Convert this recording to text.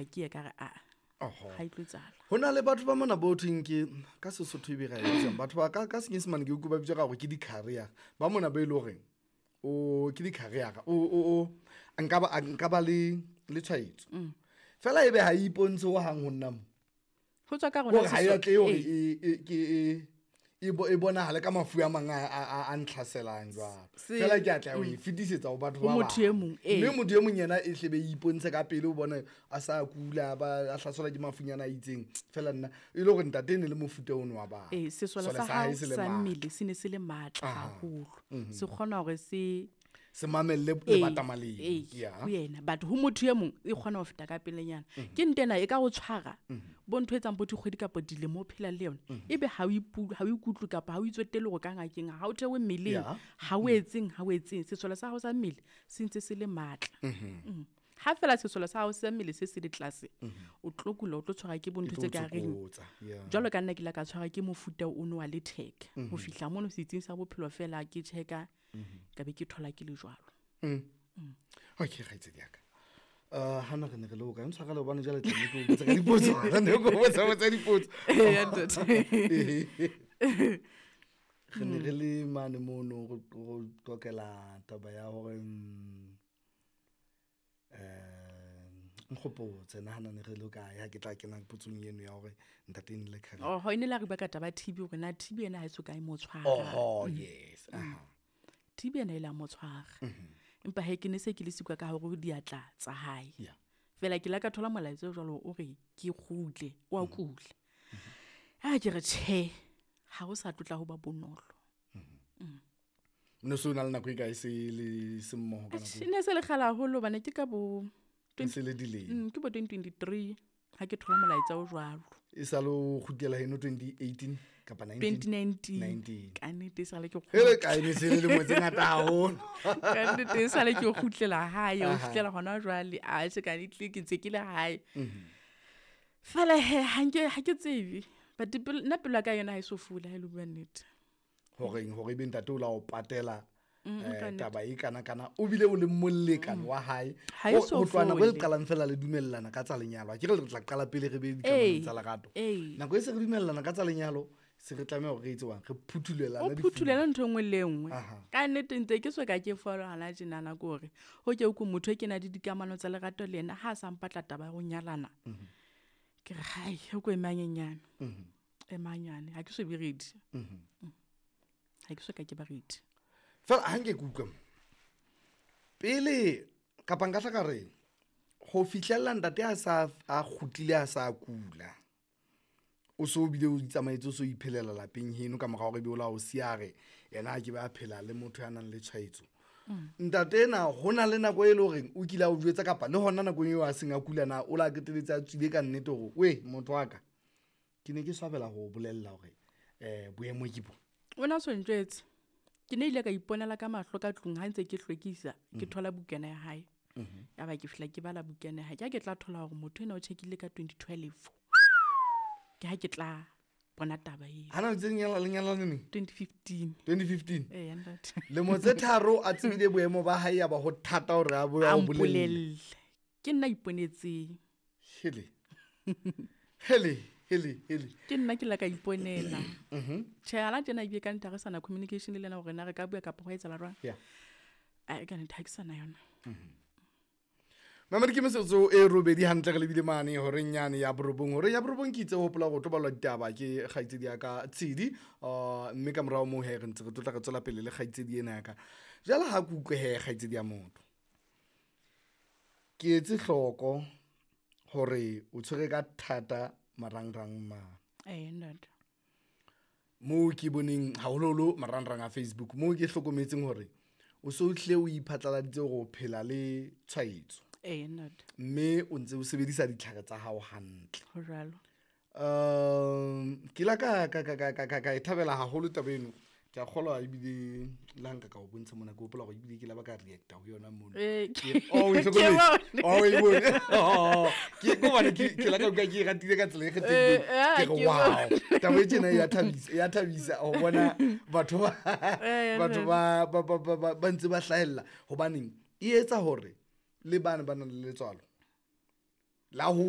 gore ke ye ka re aa ga e tlo etsala. Ho na le batho ba mona bo thweng ke ka Sesotho e be ra e bitsang batho ba ka Senyesemane ke utlwe ba bitsa ka gore ke di-carrier ba mona ba e le horeng o ke di-carrier o nka ba le tshwaetso fela ebe ha e ipontshe ho hang ho nna mo ho tswa ka rona ha e tle hore e e bonahale ka mafu a mang a ntlhaselang jwalo fela ke a tla o e fetisetsa ho batho ba motho e mong mme motho e mong yena e hlebe e ipontshe ka pele o bone a sa kula ba a hlaselwa ke mafunyana a itseng fela nna e le hore ntate e ne le mofuta ono wa batho. Sesole sa hao sa mmele se ne se le matla haholo se kgona hore se se mamelle lebatama leo ho yena but ho motho e mong e kgona ho feta ka pelenyana. Ke ntena e ka go tshwara bo ntho e etsang bo dikgwedi kapa dilemo o phela le yona ebe ha o ikutlwe kapa ha o itswetele go ka ngakeng ha o thewe mmeleng ha o etseng sesole sa hao sa mmele se ntse se le matla. Ha fela sesole sa hao sa mmele se se le tlase o tlo kula o tlo tshwara ke bo ntho tse ka reng jwalo ka nna ke la ka tshwara ke mofuta ono wa letheka ho fihla mono setsing sa bophelo fela ke checka ka be ke thola ke le jwalo. Okay kgaitsedi ya ka hana re ne re le o ka ntshwara le hobane jwale tla ke o botsa ka dipotso re ne ke o botsa dipotso re ne re le mane mono go tokela taba ya hore nkgopotse nahana ne re le kae ha ke tla kena potsong eno ya hore ntate ne le khale. Oh ne la re bua ka taba TB hore na TB ena ha e so ka e mo tshwara. Oh yes. TB ena e la mo tshwara. Empa he ke ne se ke le sikwa ka hore diatla tsa hae. Fela ke la ka thola molaetsa jwalo o re ke kgutle o a kula. Ha ke re tjhe ha o sa tlotla ho ba bonolo. Ne so na le nako e kae se le semmoho ka nako? Ne se le kgale haholo bana ke ka bo se le dilemo. Ke bo 2023 ha ke thola molaetsa o jwalo. E sa lo kgutlela heno 2018 kapa 2019. Ka nnete sa le ke hele kae ne se le lemo tse ngata haholo. Ka nnete sa le ke kgutlela hae o fihlela hona jwale a se ka nnete ke ntse ke le hae. Fela he ha ke tsebe but nna pelo ya ka yona ha e so fula ha e le bua nnete. Horeng hore be ntate o la o patela taba e kana kana o bile o le molekane wa hae o tlwana nako e qalang fela le dumellana ka tsa lenyalo. Ke re re tla qala pele re be dikamanong tsa lerato. Nako e se re dumellana ka tsa lenyalo se re tlameha hore re etse wang re phuthulela o phuthulela ntho engwe le engwe. Ka nnete ntse ke so ka ke follow hana tjenana ke hore ho ke o motho e ke na le dikamano tsa lerato le yena ha a sa mpatla taba ya ho nyalana. Ke re hai o ko emanyenyane. Emanyane ha ke so be ready. Ha ke so ka ke ba ready. Fela ha nke ke utlwa pele kapa nka tla ka re ho fihlella ntate a sa a kgutlile a sa kula o so bile o itsamaetse o so iphelela lapeng heno ka mora hore be o la o siare yena a ke ba phela le motho ya nang le tshwaetso. Ntate ena ho na le nako e le horeng o kile a o jwetsa kapa le hona nakong eo a seng a kula na o la qetelletse a tswile ka nnete hore we motho wa ka ke ne ke swabela ho bolella hore boemo ke bo. O na so ntjwetse. Ke ne ile ka iponela ka mahlo ka tlung ha ntse ke hlwekisa ke thola bukana ya hae. Ya ba ke fihla ke bala bukana ya hae. Ke tla thola hore motho ena o checkile ka 2012. Ke ha ke tla bona taba eo. Hana ntse lenyala neng? 2015. 2015. Ntate. Lemo tse tharo a tsebile boemo ba hae ya ba ho thata hore a bo a bolelle. Ke nna iponetseng. Hele. Hele. Hele. Ke nna ke la ka iponela. Tjhe ala tjena ebile ka ntha re sana communication le lena hore na re ka bua kapa ho etsahala jwang. Ai ka ntha ke sana yona. Mamedi ke metsotso e robedi hantle re lebile mane horeng nyane ya borobong. Horeng ya borobong ke itse ho hopola go tobalwa ditaba ke kgaitsedi ya ka Tshedi mme ka morao moo he re ntse re tlotla re tswela pele le kgaitsedi ena ya ka. Jwale ha ke utlwe he kgaitsedi ya motho. Ke etse hloko hore o tshwere ka thata marangrang ma. Ntate. Moo ke boneng haholoholo marangrang a Facebook moo ke hlokometseng hore o so tle o iphatlaladitse hore o phela le tshwaetso. Ntate. Mme o ntse o sebedisa ditlhare tsa hao hantle. Ho jwalo. Ke la ka e thabela haholo taba eno. Ke a kgolwa ebile le ha nka ka o bontsha mona ke hopola hore ebile ke la ba ka reacta ho yona mono. Oh, e hlokometse. Oh, e bone. Ke hobane ke la ka utlwa ke e ratile ka tsela e kgethehileng. Ke re wow. Taba e tjena e ya thabisa ho bona batho ba ntse ba hlahella hobaneng e etsa hore le bana ba nang le letswalo la ho